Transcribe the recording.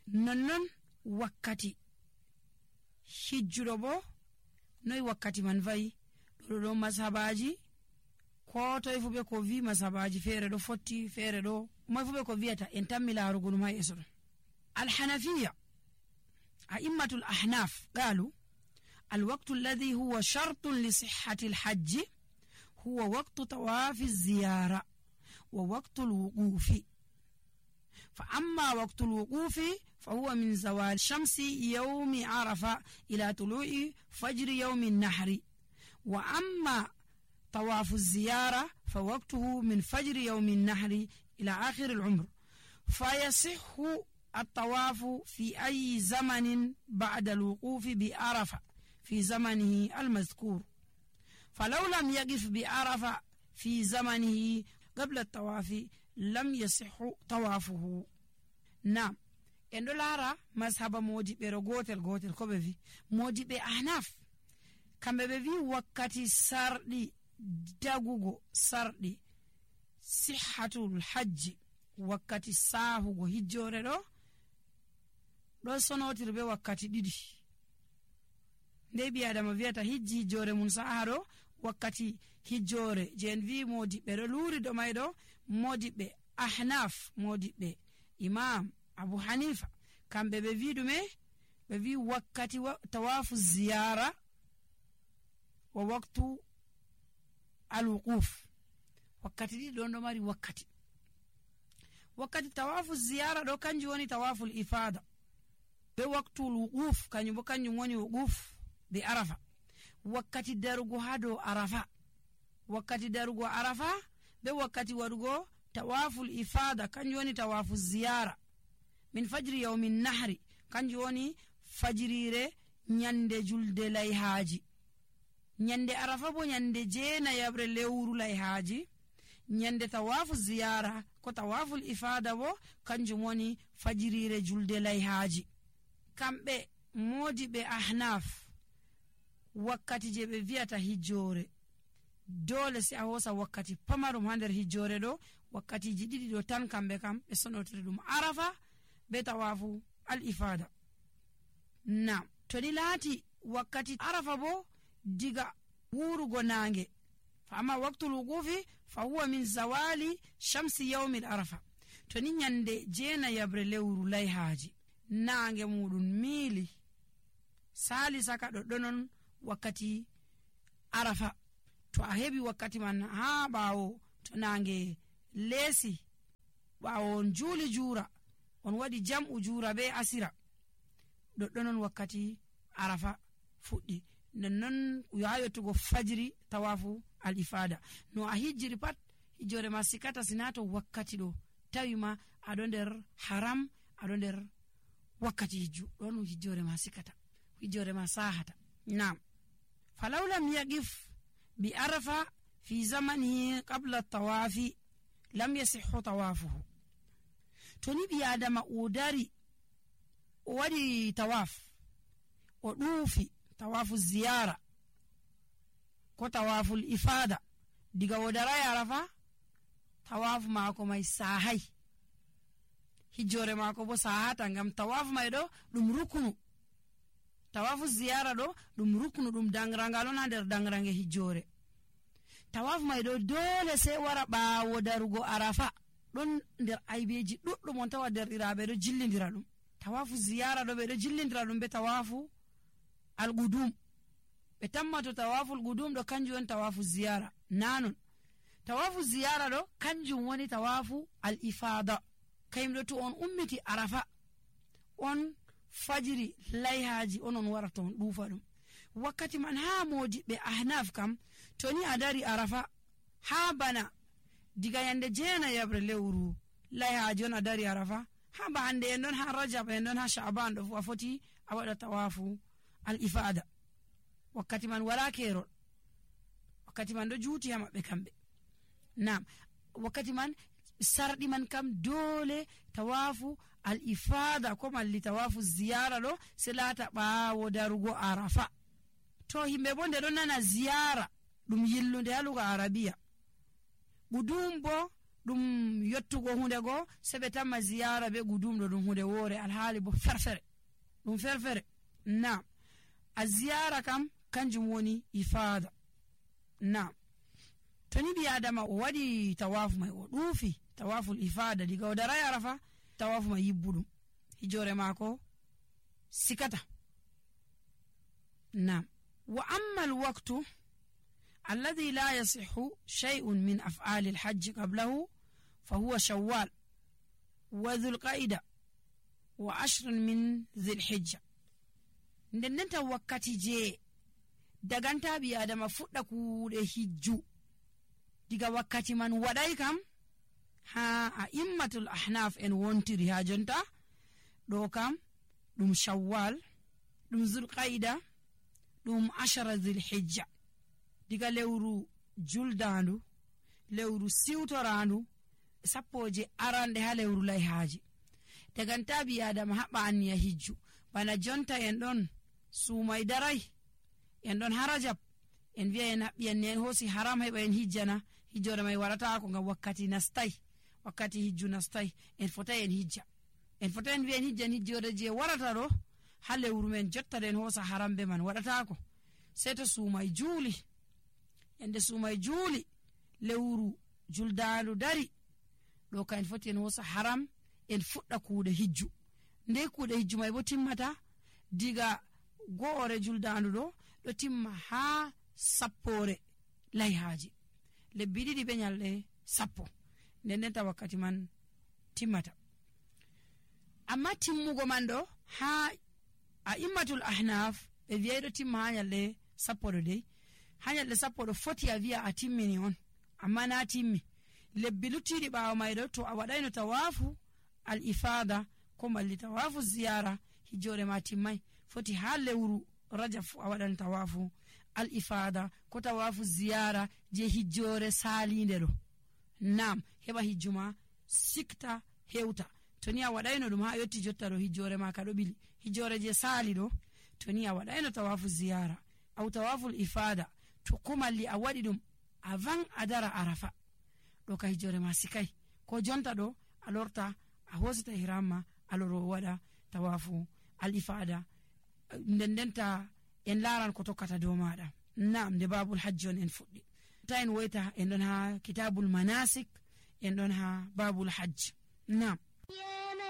nonnon wakkati hijjudo bo noy wakkati man vayi do mazhabaji ko toy fu be ko vi mazhabaji fere do fotti fere do moy fu be ko viata en tammi larugo dum hay eso al-hanafiyya a'immatul ahnaf qalu الوقت الذي هو شرط لصحة الحج هو وقت طواف الزيارة ووقت الوقوف. فأما وقت الوقوف فهو من زوال شمس يوم عرفة إلى طلوع فجر يوم النحر. وأما طواف الزيارة فوقته من فجر يوم النحر إلى آخر العمر. فيصح الطواف في أي زمن بعد الوقوف بعرفة في زمنه المذكور. فلو لم يقف بعرفة في زمنه قبل الطواف لم يصح طوافه. نعم endo lara mazhaba modibe gotel ko be vi modibe ahnaf kambe be vi wakkati sardi dagugo sardi sihhatul hajj wakkati sahugo hijjore do sonotirbe wakkati didi ndebi adama viata hijji jore mun saharo wakkati hijjore jen vi modibe do luri do maydo modibe ahnaf modibe imam Abu Hanifa kambe be vi dume be vi wakkati tawafu ziyara wa waqtu al-wuquf wakkati di do mari wakkati tawafu ziyara do kanji woni tawafu al-ifada be waqtu al-wuquf kanyu woni wuquf bi arafa wakkati darugo hado arafa be wakkati wadugo tawafu al-ifada kanju woni tawafu ziyara min fajri yawmin nahri kanju woni fajirire nyande julde layhaji nyande arafa bo nyande jeena yabre lewru layhaji nyande tawafu ziyara ko tawafu al-ifada bo kanju woni fajirire julde layhaji. Kambe modibe ahnaf wakkati je be viata hijjore dole si a hosa wakkati pamarum hander hijjore do wakkati jididi do tan kambe kam be sonotire dum arafa be tawafu al-ifada. Na to ni lati wakkati arafa bo diga wurugo nange fa amma waqtul wuqufi fa huwa min zawali shamsi yawm al-arafa to ni nyande jeena yabre lewru layhaji nange mudun mili sali saka do donon wakkati arafa to a hebi wakkati man ha bawo to nange lesi bawo juli jura on wadi jam'u jura be asira do donon wakkati arafa fuddi non yayotugo fajri tawafu al-ifada no a hijjiri pat hijjore masikata sinato wakkati do tawima ado nder haram ado nder wakkati hijju don hijjore masikata hijjore masahata. Naam فلو لم يقف بعرفة في زمنه قبل الطواف لم يصح طوافه. توني بيادم أوداري ودي طواف ودوفي طواف الزيارة كو طواف الإفادة ديغا ودراي عرفة طواف ماكو ماي ساهي hijjore mako bo sahata ngam tawaf maydo dum rukunu tawafu ziyara do dum rukunu dum dangrangalo na der dangrange hijjore tawaf maydo dole sai wara baawo darugo arafa don der aybeji duddum on tawa der irabe do jillindira dum tawafu ziyara do be do jillindira dum be tawafu al-qudum be tammato tawafu al-qudum do kanju on tawafu ziyara nanon tawafu ziyara do kanju woni tawafu al-ifada kaymdo to on ummiti arafa on fajiri layhaji onon waraton dufa dum wakkati man ha modi be ahnaf kam toni adari arafa ha bana diga yande jeena yabre lewru layhaji on adari arafa ha ba hande en don ha rajab en don ha sha'ban do foti awada tawafu al-ifada wakkati man wala kero wakkati man do juuti ha mabbe kambe. Naam wakkati man sardi man kam dole tawafu al-ifada ko malli tawafu ziyara do selata baawo darugo arafa to himbe bonde don nana ziyara dum yillunde haluga arabiya budum bo ɗum yottugo hunde go sebe tamma ziyara be gudumɗo ɗum hunde wore alhaali bo ferfere ɗum ferfere. Naam, a ziyara kam kanjum woni ifada. Naam, to ni ɓi adama o waɗi tawafu mai o ɗuufi tawaful ifada diga o daray arafa tawafu mai yibbuɗum hijore maako sikata. Naam, wa amma alwaqtu alladhi la yasihhu shay'un min af'ali alhajj qablahu fahuwa shawwal wa dhulqa'ida wa 10 min dhilhijja. Ndendenta wakkati je daganta ɓi adama fuɗɗa kuuɗe hijju diga wakkati man waɗay kam ha a immatul ahnaf en wontiri ha jonta ɗo kam ɗum shawwal, ɗum zulqaida, ɗum 10 dhilhijja. diga lewru juldandu, lewru siwtorandu, sappoje arande ha lewru layhaji daganta ɓi adama haɓɓa anniya hijju. Bana jonta en ɗon sumay daray, en ɗon ha rajab en wiya en haɓɓi en en hoosi haram heɓa en hijjana, hijjore may waɗatako ngam wakkati nastay, wakkati hijju nastay, en fotay en hijja. En fotay en wiya en hijjan hijjore je warata ɗo ha lewru men jotta en hoosa haram be man waɗatako. Sey to sumay juuli, ende sumay juuli lewru juldandu dari ɗo ka en foti en hoosa haram en fuɗɗa kuuɗe hijju. Nde kuuɗe hijju may bo timmata diga go'ore juldandu ɗo timma ha sappore layhaji, lebbi ɗiɗi be nyalɗe sappo ndendenta wakkati man timmata. Amma timmugo man ɗo ha a immatul ahnaf ɓe wiyay ɗo timma ha nyalɗe sappo ɗo dey, ha nyalɗe sappo ɗo foti a wiya a timmini on, amma na timmi. Lebbi luttiɗi ɓawo may ɗo to a waɗayno tawafu al ifada ko malli tawafu ziyara hijjore ma timmay, foti ha lewru rajab fu a waɗan tawafu al ifada ko tawafu ziyara je hijjore salinde ɗo. Nam, heɓa hijjuma sikta hewta. To ni a waɗayno ɗum ha yotti jotta ɗo hijjore ma ka ɗo ɓili, hijjore je sali ɗo to ni a waɗayno tawafu ziyara aw tawaful ifada to ko malli a waɗi ɗum avant a dara arafa ɗo ka hijjore ma sikay. Ko jonta ɗo a lorta a hosita ihramma a loro waɗa tawafu al ifada ndendenta en laran ko tokkata dow maɗa. Naam, nde babul hajji on en fuɗɗi ta en woyta en ɗon ha kitabul manasik, en ɗon ha babul hajj. Naam.